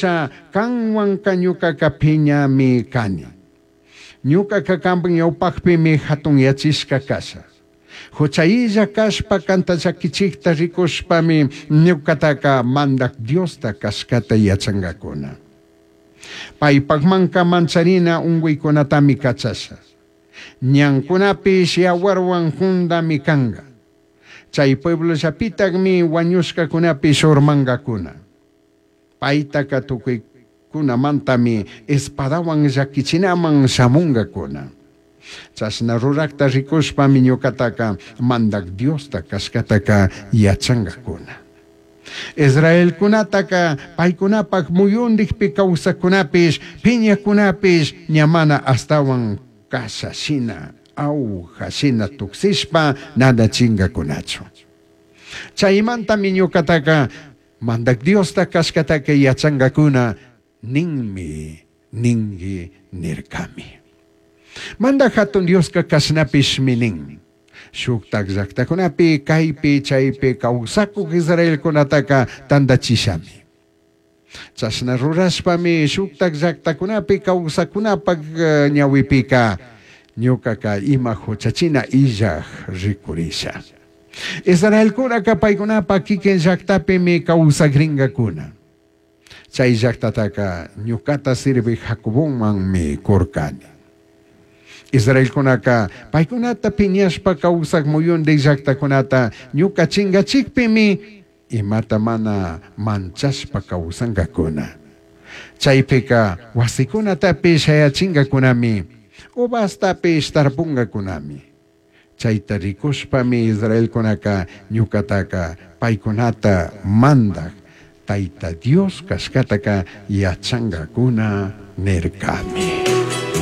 punlla canhuanca ñucaca piñami cani. Ñucaca cambaj ñaupajpimi jatunyachishca casha. Juchailla cashpa canta llaquichijta ricushpami ñucataca Mandaj Diosta cashcata yachangacuna. Paipajmanca mancharina ungüicunatami cachasha. Ñancunapish yahuarhuan jundami canga. Chai pueblollapitajmi huañushcacunapish urmangacuna. Paitaca tucuicunamantami espadahuan llaquichinaman shamungacuna. Chashna rurajta ricushpami ñucataca Mandaj Diosta cashcataca yachangacuna. Israelcunataca paicunapaj muyundijpi causajcunapish, piñajcunapish ña mana ashtahuan casha shina, aguja shina tujsishpa nanachingacunachu. Chaimantami ñucataca Mandaj Diosta cashcataca yachangacuna ninmi ningui nircami. Mandaj Jatun Diosca cashnapishmi nin. Shujtaj llajtacunapi caipi chaipi causacuj israelcunataca tandachishami. Chashna rurashpami shujtaj llajtacunapi causacunapaj ñahuipica ñucaca ima juchachina illaj ricurisha. Israelcunaca paicunapaj quiquin llajtapimi causagringacuna. Chai llajtataca ñucata sirvij Jacobomanmi curcani. Israelcunaca paicunata piñashpa causaj muyundij llajtacunata ñuca chingachijpimi imata mana manchashpa causangacuna. Chaipica huasicunatapish shayachingacunami, uvastapish tarpungacunami. Chaita ricushpami israelcunaca ñucataca paicunata mandaj Taita Dios cashcataca yachangacuna nircami.